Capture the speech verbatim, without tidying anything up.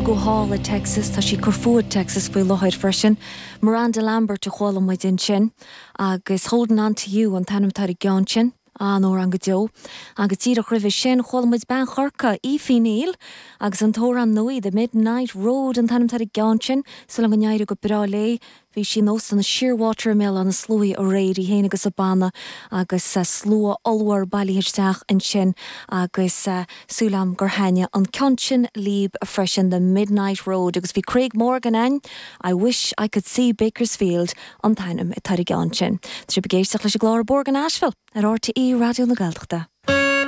Rugadh thall i Texas tá sí ag cur fúithi i Texas faoi láthair freisin. Miranda Lambert a chuala muid ansin agus Holding on to you an t-ainm atá ar an gceann sin. An-amhrán go deo. Agus díreach roimhe sin chuala muid bean Chorcaí Aoife Neal agus an t-amhrán nua The Midnight Road an t-ainm atá ar an gceann sin súil agam go n-éireoidh go breá léi. Bhí sí in Óstán Shearwater i mBéal Átha na Sluaighe aréir í féin agus a banna agus slua ollmhór bailithe isteach ansin agus súil agam gur thaitin an ceann sin libh freisin The Midnight Road agus bhí Craig Morgan ann I wish I could see Bakersfield an t-ainm atá ar an gceann sin. Tá sibh ag éisteacht leis an gclár Bóthar go Nashville ar RTÉ Raidió na Gaeltachta.